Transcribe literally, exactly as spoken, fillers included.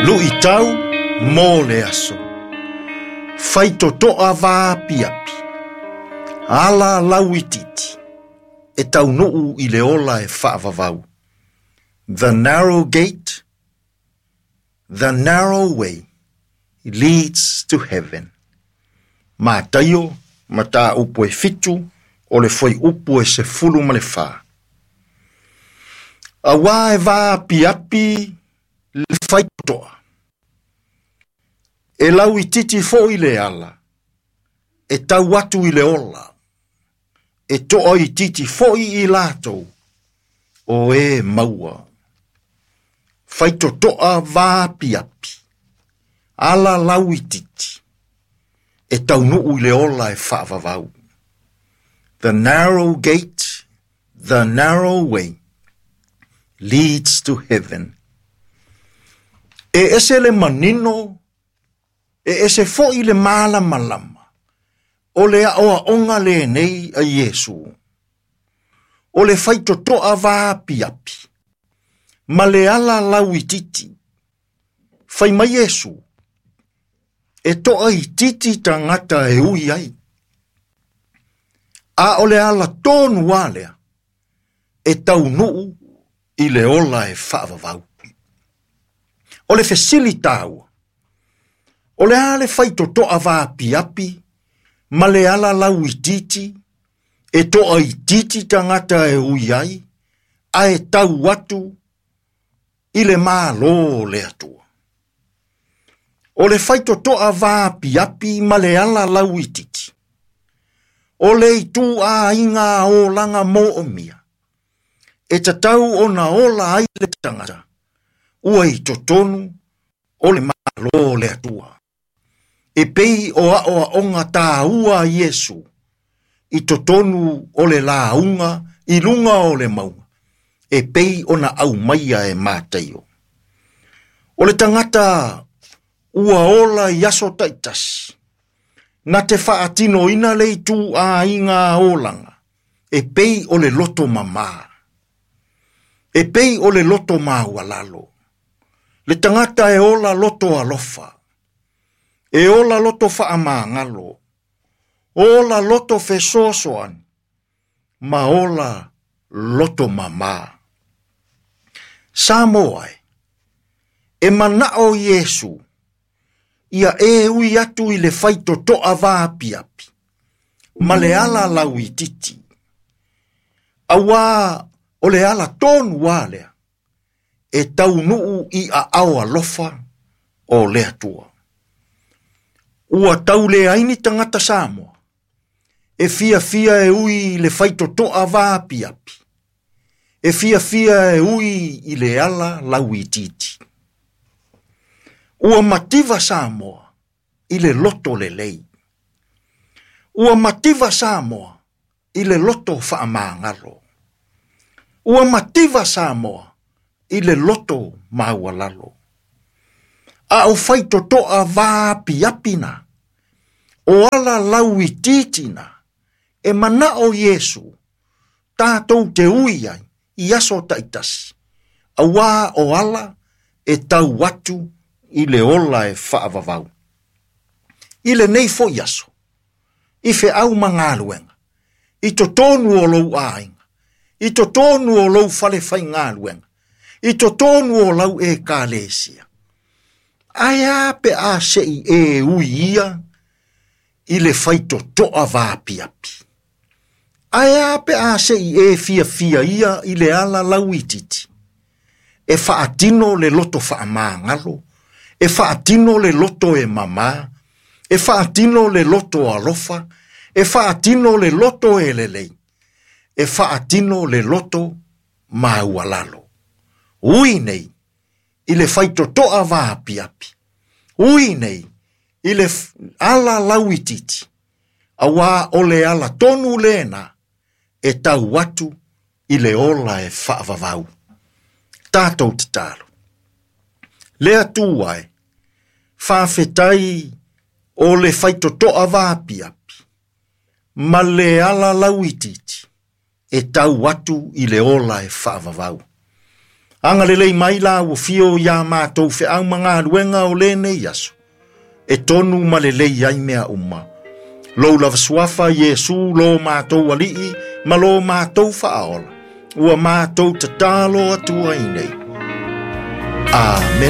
Luʻitau mo le aso. Faitotoa vaapiapi. Ala lauitiiti. E taunuu i le ola e faavavau. The narrow gate, the narrow way leads to heaven. Mataio, mataupu e fitu, o le fuaiupu e sefulu ma le fa. Auā e vaapiapi le faitotoa. E lauitiiti foʻi le ala, e tau atu i le ola, e toaitiiti foʻi i latou, o e maua. Faitotoa vaapiapi, ala lauitiiti, e taunuu i le ola e faavavau. The narrow gate, the narrow way, leads to heaven. E ese le manino, e ese foʻi le malamalama, o le aʻoaʻoga lenei a Iesu. O le faitotoa vaapiapi, ma le ala lauitiiti. Fai mai Iesu, e toaitiiti tagata e ui ai. A o le ala tonu lava lea, e taunuu i le ola e faavavau. O le fesili taua, o le a le faitotoa vaapiapi, ma le ala lauitiiti, e toaitiiti tagata e ui ai, ae tau atu i le Mālō o le Atua. O le faitotoa vaapiapi ma le ala lauitiiti. O le ituaiga olaga moomia. E tatau ona ola ai le tagata, ua i totonu o le Mālō o le Atua. E pei o aʻoaʻoga taua a Iesu, i totonu o le lauga i luga o le mauga, e pei ona aumaia e Mataio. O le tagata ua ola i aso taitasi, na te faatinoina le ituaiga olaga, e pei o le loto mamā. E pei o le loto maualalo. Le tagata e ola loto alofa. E ola loto faamagalo. Ola loto fesoasoani. Ma ola loto mamā. Samoa e, e manao Iesu, ia e ui atu i le faitotoa vaapiapi, ma le ala lauitiiti. Auā o le ala tonu lava lea, e taunuu i aao alofa o le Atua. Ua tauleai ni tagata Samoa, e fiafia e ui i le faitotoa vaapiapi, e fiafia e ui i le ala lauitiiti. Ua mativa Samoa i le loto lelei. Ua mativa Samoa i le loto faamagalo. Ua mativa Samoa i le loto maualalo. A o faitotoa vaapiapi na, o ala lauitiiti na, e manao Iesu, tatou te ui ai i aso taitasi, auā o ala e tau atu i le ola e faavavau. I lenei foʻi aso, i feau ma galuega, i totonu o lou aiga, i totonu o lou fale faigaluega, i totonu o lau ekalesia. Ae a pe a sei e ui ia i le faitotoa vaapiapi. Ae a pe a sei e fiafia ia i le ala lauitiiti. E faatino le loto faamagalo, e faatino le loto e mamā, e faatino le loto alofa, e faatino le loto e lelei, e faatino le loto maualalo. Ui nei, i le faitotoa vaapiapi. Ui nei, i le ala lauitiiti. Auā o le ala tonu lena, e tau atu i le ola e faavavau. Tatou tatalo. Le Atua e, faafetai o le faitotoa vaapiapi, ma le ala lauitiiti, e tau atu i le ola e faavavau. Agalelei mai la ua fio iā matou feau ma galuega o lenei aso, e tonu ma lelei ai mea uma. Lou lava suafa Iesu lo matou alii ma lo matou faaola, ua matou tatalo atu ai nei. Amene.